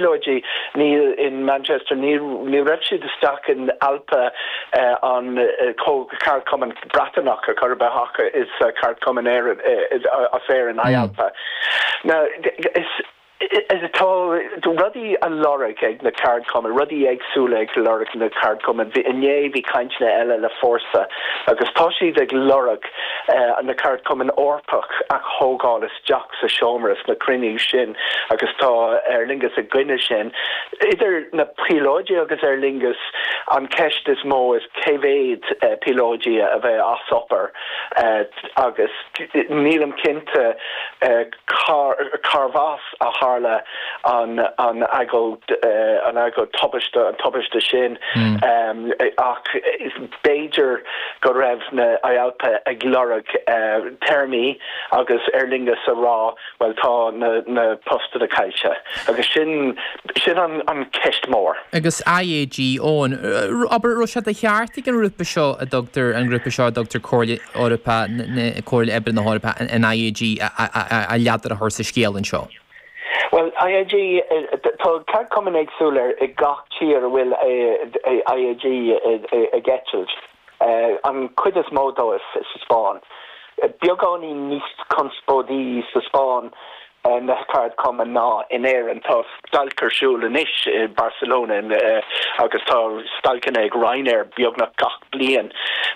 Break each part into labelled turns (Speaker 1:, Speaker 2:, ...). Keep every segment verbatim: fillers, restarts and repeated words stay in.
Speaker 1: píolóidí ní in Manchester ní ní raibh siad isteach in ALPA uh, an uh, ceardchumann Breataineach a chur behacha is uh, ceardchumann as Éirinn mm. IALPA. Now is tá rudaí á lorg ag na ceardchumainn rudaí éagsúla ag lorg na ceardchumainn inné bhí cainteanna eile le Fórsa agus tá siad ag lorg uh, na ceardchumann Eorpach a thógáil isteach sa seomra na cruinniú sin agus tá Aer Lingus i gcoinne sin. Idir na píolóidí agus Aer Lingus an ceist is mó is cé mhéad uh, píolóidí a bheidh as obair uh, agus nílim cinnte uh, carbh as a tharla an an agóid uh, an agóid tubaiste an tubaiste sin mm. um, ach b'fhéidir go raibh na IALPA ag lorg uh, téarmaí agus Aer Lingus a rá well tá na, na postanna caillte agus sin sin an, an ceist mór.
Speaker 2: Agus IAG ón aber ro sé de cheart an grúpa seo a dtugtar an grúpa seo a dtugtar Comhairle Eorpach Comhairle Oibre na hEorpa an IAG a leadar a chur sa scéal anseo.
Speaker 1: Well IAG tá ceardchumainn éagsúla i gach tír a bhfuil IAG ag eitilt. An cuid is mó dóibh sa Spáinn. Beagáinín níos conspóidí sa Spáinn na ceardchumainn ná in Éirinn tá stailc ar siúl anois i Barcelona agus tá stailceanna ag Ryanair beagnach gach bliain.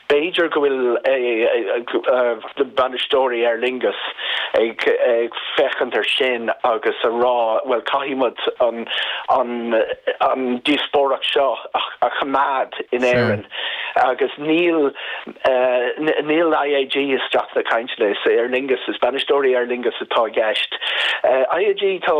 Speaker 1: B'fhéidir go bhfuil bainisteoirí Aer Lingus ag ag féachaint ar sin agus a rá well caithfimid an an an díospóireacht seo a choimeád in Éirinn agus níl uh, níl IAG isteach na cainteanna is Aer Lingus is bainisteoirí Aer Lingus atá i gceist. Uh, IAG tá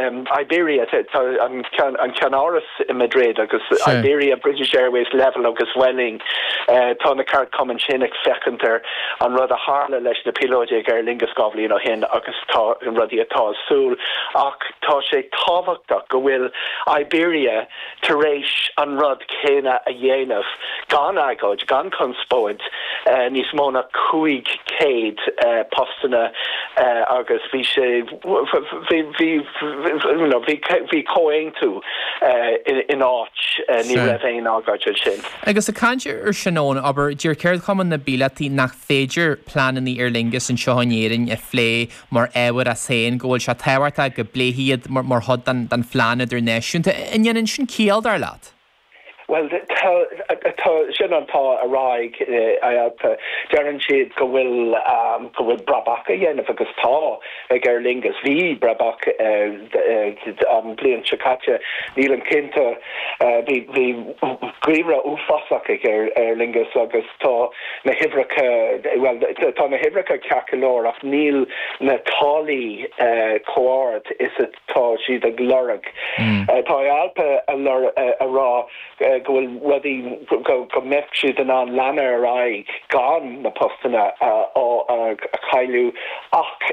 Speaker 1: um, Iberia tá an an ceannáras i Madrid agus Iberia British Airways Level agus Vueling uh, tá na ceardchumainn sin ag féachaint ar an rud a tharla leis na píolóidí ag Aer Lingus dhá bhliain ó shin agus tá an rudaí atá ar siúl ach tá sé tábhachtach go bhfuil Iberia tar éis an rud céanna a dhéanamh gan agóid gan conspóid uh, níos mó ná cúig céad uh, postanna uh, agus bhí sé bhí bhí comhaontú in áit ní raibh aon agóid sin.
Speaker 2: Agus ag caint ar sin aber deir ceardchumann na bpíolótaí nach féidir pleananna Aer Lingus anseo in Éirinn a phlé mar ábhar as féin go bhfuil sé tábhachtach go bpléifí iad mar chuid den den phlean idirnáisiúnta an ndéanann sin ciall dar leat.
Speaker 1: Well sin an tá a ráig deireann siad go bhfuil um, go bhfuil brabach á dhéanamh agus tá ag Aer Lingus bhí brabach an bliain seo caite nílim cinnte bhí geimhreadh uafásach ag Aer Lingus agus tá na huimhreacha well tá na huimhreacha ceart go leor ach níl na táillí chomh hard is atá siad ag lorg. Mm. Tá ALPA a rá go bhfuil rudaí go mbeadh siad in ann leanúint ar aghaidh gan na postanna a chailleadh ach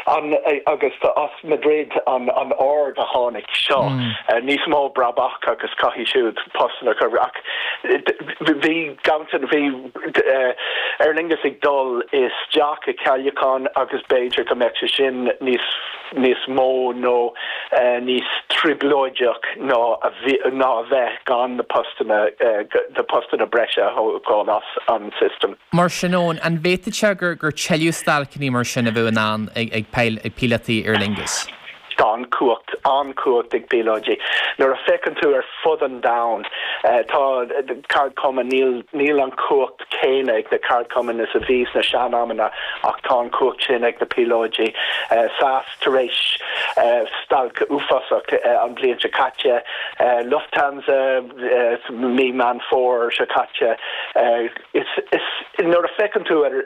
Speaker 1: an agus as Madrid an an ord a tháinig seo mm. níos mó brabach agus caithfidh siad postanna chur ach bhí gantan bhí Aer Lingus ag dul isteach i gceadúchán agus b'fhéidir go mbeadh sé sin níos níos mó nó níos trioblóideach ná ná a bheith gan na postanna na postanna breise thógáil as an system.
Speaker 2: Mar sin an bhféadfadh sé gur gur tuilleadh stailceanna mar sin a bheith in ann ag ag ag píolótaí Aer Lingus.
Speaker 1: Tá an-chumhacht an-chumhacht ag píolóidí. Nuair a fheiceann tú ar fud an domhain tá ceardchumann níl níl an cumhacht céanna ag na ceardchumainn is a bhí sna sean-amanna ach tá an cumhacht sin ag na píolóidí. SAS tar éis stailc uafásach an bliain seo caite Lufthansa mí Meán Fómhair seo caite nuair a fheiceann tú ar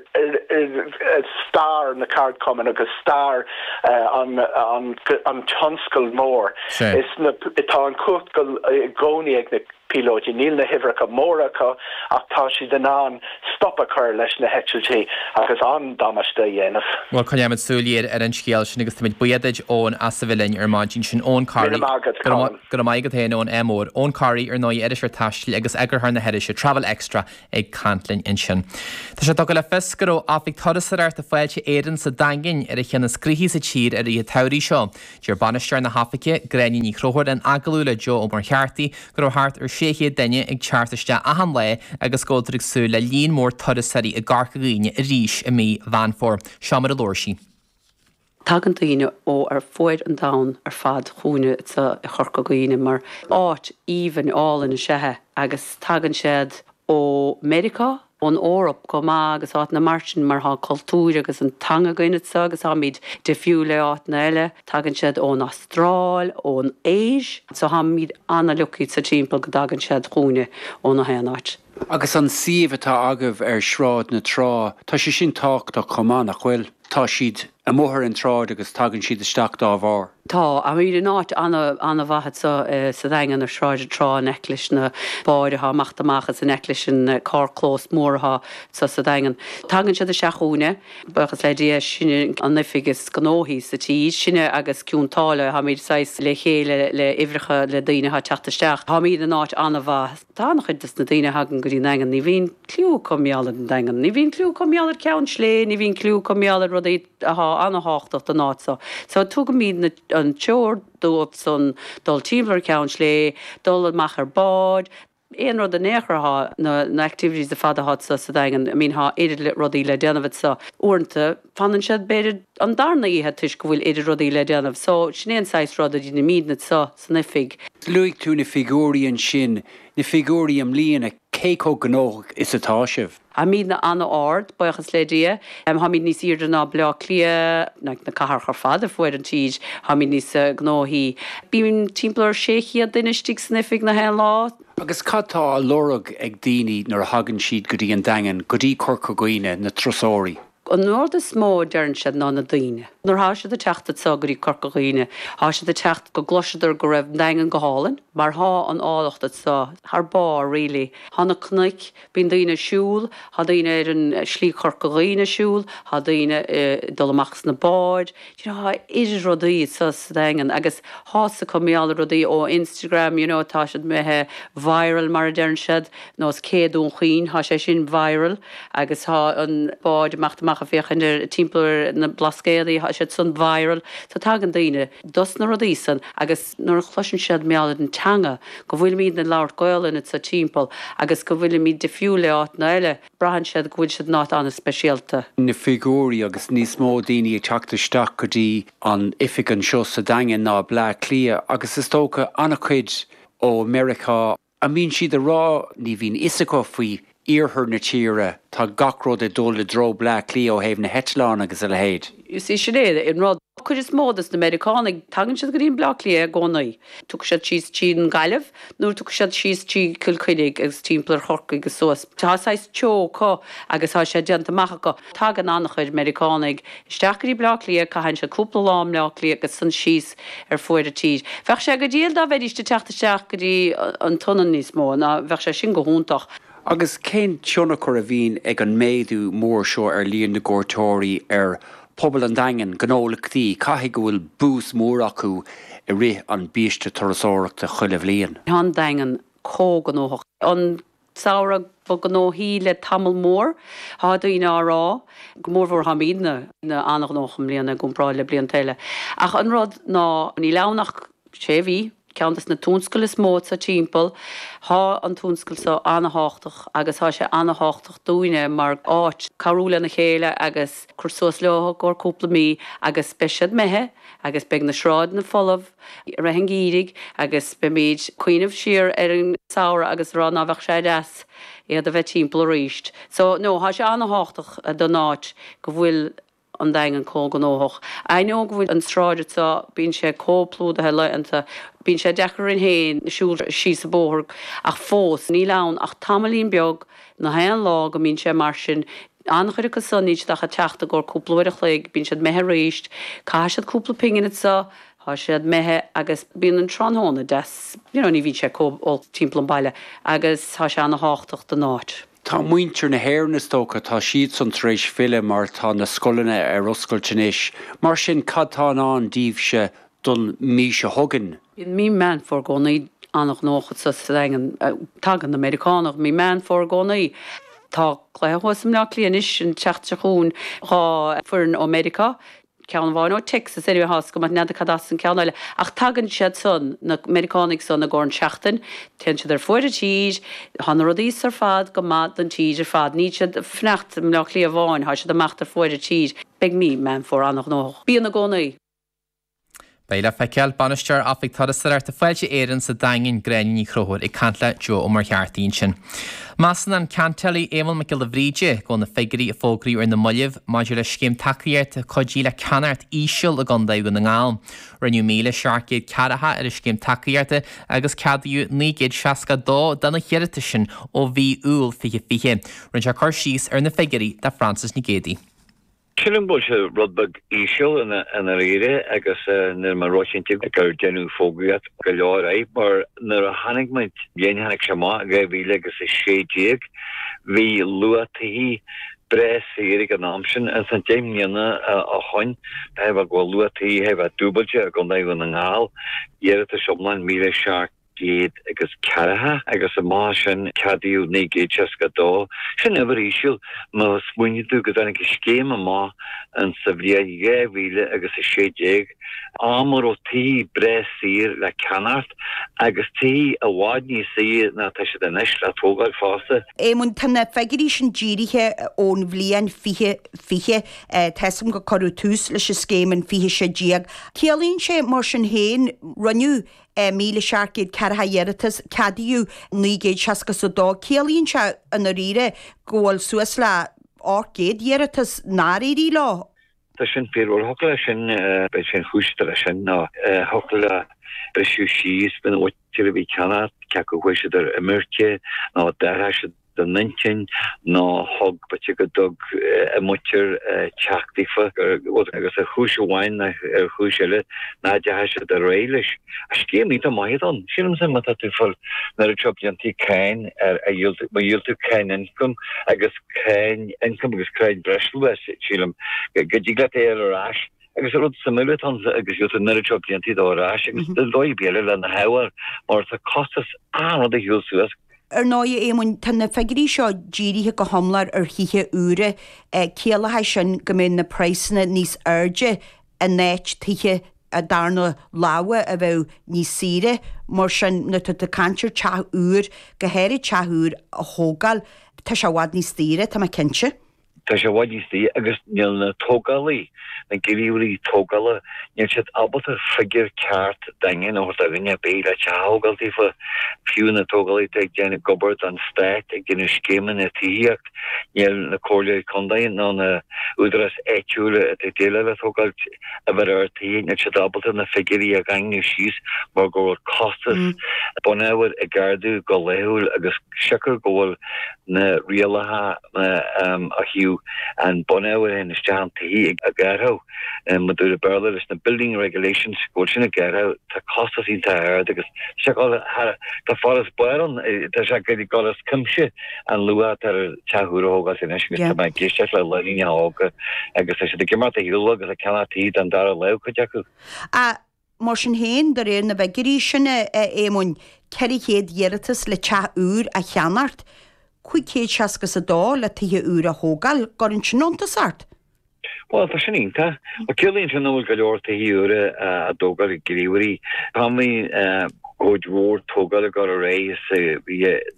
Speaker 1: stair na ceardchumann agus stair an an an tionscal mór is na tá an cumhacht i gcónaí ag na píolóidí. Níl na huimhreacha móra acu ach tá siad in ann stop a chur leis na heitiltí agus an-damáiste a dhéanamh.
Speaker 2: Bhuel coinneoimid súil ar an scéal sin agus táimid buíoch duit Eoin as a bheith linn ar maidin sin Eoin Corry
Speaker 1: Míle maith agat, Colin.
Speaker 2: Go raibh maith agat féin Eoin ádh mór. Eoin Corry ar ndóigh iriseoir taistil agus eagarthóir na hirise Travel Extra ag caint linn ansin. Tá sé tugtha le fios go raibh oifig turasóireachta Fáilte Éireann sa Daingean ar an cheann is gnoithí sa tír i rith an tsamhraidh seo. Deir bainisteoir na hoifige Gráinne Ní Chonchúir in agallamh le Joe Ó Muircheartaigh go raibh thart ar sé chéad duine ag teacht isteach achan lá agus go bhfuiltear ag súil le líon mór turasóirí i gCorca Dhuibhne arís i mí Mheán Fómhair. Seo mar a labhair sí.
Speaker 3: Tagann daoine ó ar fuaid an domhain ar fad chugainne sa i Chorca Dhuibhne mar áit aoibhinn álainn is ea é agus tagann siad ó Meiriceá, ón Eoraip go maith agus áiteanna mar sin mar tá cultúr agus an teanga againn anseo agus táimid difriúil le áiteanna eile. Tagann siad ón Astráil, ón Áise, so táimid an-lucky sa timpeall go dtagann siad chugainne ó na haon áit.
Speaker 4: Agus an suíomh atá agaibh ar Shráid na Trá, tá sé sin tábhachtach chomh maith nach bhfuil. Tá siad amuigh ar an tsráid agus tagann siad isteach dá bharr.
Speaker 3: Tá táimid in áit an-mhaith anseo sa Daingean ar Shráid na Trá in aice leis na báid atá amach amach is in aice leis an carrchlós mór atá sa sa Daingean. Tagann siad isteach chugainne, buíochas le Dia sin an oifig is gnóthaí sa tír, sinne agus Cionn tSáile táimid saghas le chéile le huimhreacha le daoine atá ag teacht isteach. Táimid in áit an-mhaith. Tá an-chuid de na daoine a thagann go dtí an Daingean, ní bhíonn cliú acu mar gheall ar an Daingean, ní bhíonn cliú acu mar gheall ar Cheann Sléibhe, ní bhíonn cliú acu mar gheall ar rudaí atá an-tábhachtach don áit seo. So tugaimid an treoir dóibh san dul timpeall ar Cheann Sléibhe, dul amach ar bád, aon rud in aon chor atá na, na activities ar fad atá sa sa Daingean, I mean tá oiread rudaí le déanamh anseo. Uaireanta fanann siad b'fhéidir an darna oíche toisc go bhfuil oiread rudaí le déanamh, so sin é an saghas rud a dhéanaimid anseo san oifig.
Speaker 4: Luaigh tú na figiúirí ansin, na figiúirí i mbliana, cé chomh gnóthach is atá sibh.
Speaker 3: Táimid an-ard, buíochas le Dia. Táimid níos airde ná Baile Átha Cliath, na cathracha ar fad ar fuaid an tír, táimid níos gnóthaí. Bíonn timpeall ar sé chéad duine istigh san oifig na haon lá.
Speaker 4: Agus cad tá á lorg ag daoine nuair a thagann siad go dtí an Daingean, go dtí Corca Dhuibhne, na turasóirí.
Speaker 3: An rud is mó a deireann siad ná na daoine. Nuair atá siad ag teacht anseo go dtí Corca Dhuibhne, tá siad ag teacht go gcloiseadar go raibh an Daingean go hálainn, mar tá an áilleacht anseo thar barr really. Tá na cnoic, bíonn daoine ag siúl, tá daoine ar an slí Corca Dhuibhne ag siúl, tá daoine ag dul amach sna báid, you know, tá oiread rudaí anseo sa Daingean agus tá a fhios acu mar gheall ar rudaí ó Instagram, you know, tá siad imithe viral mar a deireann siad, nós Cé Dún Chaoin, tá sé sin viral agus tá an bád amach amach ag féachaint ar timpeall ar na Blascaodaí, tá siad san viral, so tagann daoine dos na rudaí san agus nuair a chloiseann siad mar gheall ar an teanga, go bhfuilimid ag labhairt Gaolainn anseo timpeall agus go bhfuilimid difriúil le áiteanna eile, braitheann siad go bhfuil siad in áit an-speisialta.
Speaker 4: Na figiúirí agus níos mó daoine ag teacht isteach go dtí an oifig anseo sa Daingean ná Bleá Cliath agus is dócha an-chuid ó Meiriceá. An mbíonn siad ag rá ní bhíonn fhios acu faoi iarthar na tíre, tá gach rud ag dul i dtreo Bleá Cliath ó thaobh na heitleán agus a leithéid.
Speaker 3: You see sin é an rud. Cuid is mó dos na Meiriceánaigh, tagann siad go dtí an Bleá Cliath i gcónaí. Tiocfaidh siad síos trí an Gaillimh nó tiocfaidh siad síos trí Cill Chainnigh agus timpeall ar Chorcaigh agus suas. Tá saghas treo acu agus tá sé déanta amach acu. Tagann an-chuid Meiriceánaigh isteach go dtí Bleá Cliath, caitheann siad cúpla lá i mBleá Cliath agus san síos ar fuaid an tír. Bheadh sé go diail dá bheidís ag teacht isteach go dtí an tSionainn níos mó, ná bheadh sé sin go hiontach.
Speaker 4: Agus cén tionchar a bhíonn ag an méadú mór seo ar líon na gcuairteoirí ar phobal an Daingin, gnólachtaí, caithfidh go bhfuil bús mór acu i rith an biaiste turasóireachta chuile bhliain.
Speaker 3: Tá an Daingean chomh gnóthach. An samhradh ba ghnóthaí le tamall mór, tá daoine á rá, go mórmhór táimidne an-ghnóthach i mbliana i gcomparáid le blianta eile. Ach an rud ná níl ann ach sé mhí, ceann des na tionscail is mó sa timpeall, tá an tionscal seo an-tábhachtach agus tá sé an-tábhachtach dúinne mar áit cabhrú lena chéile agus cur suas leo i gcomhair cúpla mí agus beidh siad imithe agus beidh na sráideanna folamh i rith an gheimhridh agus beimid ag cuimhneamh siar ar an samhradh agus rá ná bheadh sé deas iad a bheith timpeall arís. So no, tá sé an-tábhachtach don áit go bhfuil an Daingean chomh gnóthach. I know go bhfuil an sráid seo, bíonn sé chomh plódaithe laethanta, bíonn sé deacair orainn féin siúl síos an bóthar ach fós níl ann ach tamaillín beag na haon lá go mbíonn sé mar sin. An-chuid acu san níl siad ach ag teacht i gcomhair cúpla uair a chloig, bíonn siad imithe arís, caithfidh siad cúpla pingin anseo, Tá siad imithe agus bíonn an tráthnóna deas, you know, ní bhíonn sé chomh holc timpeall an baile agus tá sé ana-thábhachtach don áit.
Speaker 4: Tá muintir na hÉireann is dócha, tá siadsan tar éis filleadh mar tá na scoileanna ar oscailt anois. Mar sin cad tá i ndán daoibhse don mí seo chugainn?
Speaker 3: Bíonn mí Meán Fómhair i gcónaí an-ghnóthach sa Daingean. Tagann na Meiriceánaigh mí Meán Fómhair i gcónaí. Tá cluiche thuas i mBleá Cliath anois an tseachtain seo chugainn, dhá foireann ó Meiriceá. ceann amháin ó Texas anyway tá a fhios agam n'fheadar cad as an ceann eile ach tagann siad san na Meiriceánaigh san i gcomhair an seachtain téann siad ar fuaid an tír tá na rudaí ar fad go maith don tír ar fad níl siad ag fanacht i mBleá Cliath amháin tá siad amach ar fuaid an tír beidh mí Meán Fómhair an-ghnóthach bíonn i gcónaí.
Speaker 2: Beidh le feiceáil Bainisteoir Oifig Turasóireachta Fáilte Éireann sa Daingean Gráinne Ní Chonchúir ag caint le Joe Ó Muircheartaigh ansin. Measann an ceantálaí Éamonn Mac Giolla Bhríde go bhfuil na figiúirí a fógraíodh ar na mallaibh maidir le scéim tacaíochta cuidí le ceannacht íseal i gContae Dhún na nGall. Rinneadh míle seacht gcéad ceathracha ar an scéim tacaíochta agus ceadaíodh naoi gcéad seasca dó de na hiarratais sin ó mhí Iúil fiche fiche. Rinne sé cur síos ar na figiúirí do Frances Nic Géadaigh.
Speaker 5: Sílim go bhfuil sé rud beag íseal i ndáiríre agus níl mé róchinnte gur deineadh fógraíocht go leor air mar nuair a tháinig muid, bhliain a tháinig sé amach, dhá mhíle agus a sé déag, bhí luach tithe breá saor ag an am sin. Ins an deich mbliana ó shoin, tá go bhfuil luach tithe a bheith dúbailte i gContae Dhún na nGall, iarratais iomlán míle seacht gcéad agus ceathracha agus amach as sin ceadaíodh naoi gcéad seasca a dó. Sin uimhir íseal má smaoiníonn tú go dtáinig an scéim amach in sa bhliain dhá mhíle agus a sé déag, am a raibh tithe breá saor le ceannacht agus tithe i bhfad níos saoire ná tá siad anois le tógáil fosta.
Speaker 6: Éamonn, tá na figiúirí sin dírithe ón bhliain fiche fiche. Tá 'fhios a'm gur cuireadh tús leis an scéim in fiche sé déag. Ciallaíonn sé, mar sin féin, rinneadh míle seacht gcéad ceathracha iarratas, ceadaíodh naoi gcéad seasca is a dó. Ciallaíonn sé i ndáiríre go bhfuil suas le ocht gcéad iarratas nár éirigh leo.
Speaker 5: Tá sin fíor. Bhuel, thiocfadh leis sin, b'fhéidir sé an chúis atá leis sin ná thiocfadh le briseadh síos faoina mhuintir a bhí ag ceannacht, cé acu chuaigh siad ar imirce nó d'athraigh siad a n-intinn nó thug, b'fhéidir go dtug a muintir teach daofa agus ar chúis amháin nó ar chúis eile nach ndeachaigh siad ar aghaidh leis. Scéim iontach maith atá ann. Sílimse má tá tú ag fáil an oiread seo blianta cáin ar a dhíol tú, má dhíol tú cáin ioncaim agus cáin ioncaim agus cáin breisluacha, sílim go dtig leat é a fháil ar ais. Agus rud suimiúil atá ann agus gheobhaidh tú an oiread seo blianta dó ar ais agus dóigh ar bith eile lena shábháil mar tá costas achan rud ag siúl suas.
Speaker 6: Ar ndóigh, a Éamoinn, tá na figiúirí seo dírithe go hiomlán ar thithe úra. Ciallóidh sin go mbeidh na praghsanna níos airde in áit tithe darna lámha a bheadh níos saoire. Mar sin, nuair atá tú ag caint ar teach úr, go háirid teach úr a thógáil, tá sé i bhfad níos daoire, tá mé cinnte.
Speaker 5: Tá sé i bhfad níos daoire agus níl na tógálaí, na gníomhairí tógála, níl siad ábalta figiúr ceart daingean a thabhairt do dhuine ar bith le teach a thógáil daofa. Fiú na tógálaí atá ag déanamh, ag obair don stát, ag déanamh scéimeanna tithíocht, níl na comhairleoirí contae nó na údaráis áitiúla atá ag déileáil le tógáil uimhir ard tithe, níl siad ábalta na figiúirí a dhaingniú síos mar go bhfuil costas bunábhair ag ardú go laethúil agus siocair go bhfuil na rialacha ó thaobh an bunábhar a théann isteach an tithe ag athrú, mar a dúradh Béarla leis na building regulations, go bhfuil sin ag athrú, tá costas iontach ard agus tá sé ag dul thar, tá farasbarr ann, tá sé ag dul as cuimse an luach atá ar teach úr a thógáilt anois agus tá mé ag éisteacht le daoine óga agus tá siad ag imeacht ar shiúl agus ag ceannach tithe don dara lámh, cuid acu.
Speaker 6: Mar sin féin, de réir na bhfigiúirí sin, a Éamoinn, ceithre chéad iarratas le teach úr a cheannacht, cúig chéad seasca is a dó le tithe úra a thógáil, gcuireann sin iontas ort?
Speaker 5: Bhuel, tá sin iontach. Bhuel, ciallaíonn sin nach bhfuil go leor tithe úra á dtógáil ag gníomhairí. Tá cuid mhór tógáil ag dul ar aghaidh sa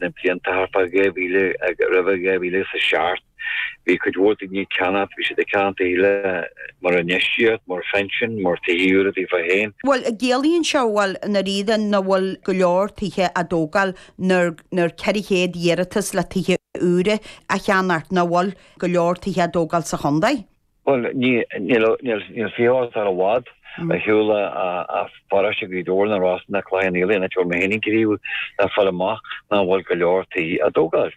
Speaker 5: na blianta thart fá dhá mhíle, roimhe dhá mhíle is a seacht. Bhí cuid mhór daoine ag ceannacht, bhí siad ag ceannacht tithe mar infheistíocht, mar phension, mar tithe úra daofa féin.
Speaker 6: Bhuel, an gciallaíonn seo, bhuel, i ndáiríre nach bhfuil go leor tithe á dtógáil nuair nuair ceithre chéad iarratas le tithe úra a cheannacht, nach bhfuil go leor tithe á dtógáil sa chontae?
Speaker 5: Bhuel, níl, níl fiche ar i bhfad ar shiúl as paróiste Ghaoth Dobhair nó Ros na Cloich Cheann Fhaola, an áit a bhfuil mé féin ag gníomhú, le fáil amach nach bhfuil go leor tithe á dtógáil.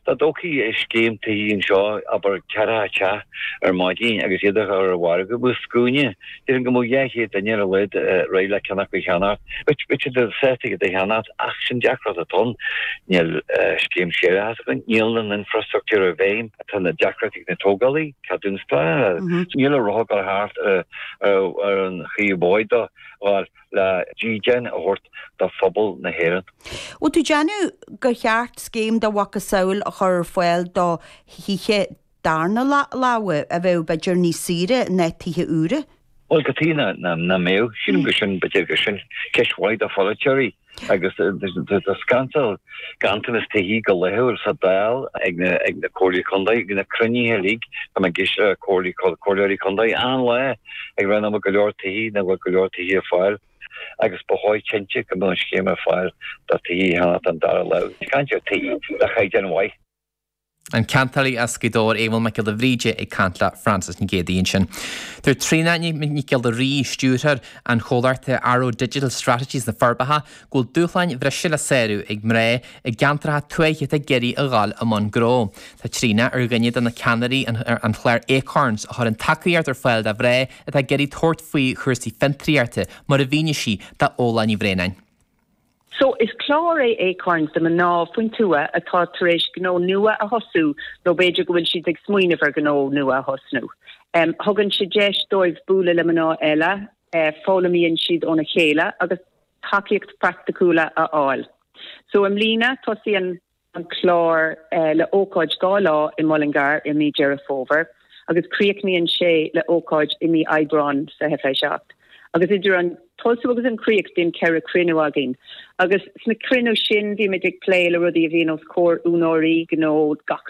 Speaker 5: Dá dtógfaí scéim tithí anseo, abair ceathracha teach ar maidin agus iad a chur ar an mhargadh, bheadh scuaine, déarfainn go mbeadh dhá chéad duine ar a laghad réidh le ceann acu a cheannacht. Bheadh siad sásta iad a cheannacht ach sin deacracht atá ann. Níl scéim séarachais againn, níl an infrastructúr i bhfeidhm, tá na deacrachtaí ag na tógálaí, ceadúnas pleanála, níl an roth ag dul thart ar an chaoi ab dhóigh dó a ghabháil. le dídean a thabhairt do phobal na hÉireann.
Speaker 6: Bhfuil tú ag déanamh gur cheart scéim dá mhacasamhail a chur ar fáil do thithe darna láimhe a bheadh b'fhéidir níos saoire ná tithe úra?
Speaker 5: Bhuel, cad chuige nach mbeadh? Sílim gur sin, b'fhéidir gur sin ceist mhaith do pholaiteoirí agus tá scannal ganntanas tithí go laethúil sa Dáil ag na ag na comhairlí contae, ag na cruinnithe uilig, tá mé ag éisteacht le comhairlí comhairleoirí contae achan lá ag rá nach bhfuil go leor tithí, nach bhfuil go leor tithí ar fáil agus ba chóir cinnte go mbeadh an scéim ar fáil do tithí a cheannacht an dara lámh. Caint ar tithí le caighdeán mhaith.
Speaker 2: An ceantálaí as Gaoth Dobhair, Aodh Mac Giolla Bhríde ag caint le Frances Nic Géadaigh ansin. Dúirt Tríona Nic Giolla Rí, stiúrthóir an chomhlachta Arrow Digital Strategies na Forbacha, go bhfuil dúshláin bhreise le sárú ag mná i gceantracha tuaithe atá ag iarraidh a dhul i mbun gnó. Tá Tríona ar dhuine de na ceannairí an chláir Acorns a chuireann tacaíocht ar fáil do mhná atá ag iarraidh tabhairt faoi chúrsaí fiontraíochta, mar a mhínigh sí d'Fhódhla Ní Bhraonáin.
Speaker 7: So is clár é Acorns do mná faoin tuath atá tar éis gnó nua a thosú nó b'fhéidir go bhfuil siad ag smaoineamh ar ghnó nua a thosnú. Um, thugann sé deis dóibh bualadh le mná eile, uh, foghlaimíonn siad óna chéile agus tacaíocht praiticiúla a fháil. So i mbliana tosaíonn an clár uh, le ócáid dhá lá i Mullingar i mí Deireadh Fómhair agus críochnaíonn sé le ócáid i mí Aibreán fiche fiche seacht. Agus idir an tosú agus an críoch bíonn ceithre cruinniú againn. Agus sna cruinnithe sin bímid ag plé le rudaí a bhíonn os comhair úinéirí gnó gach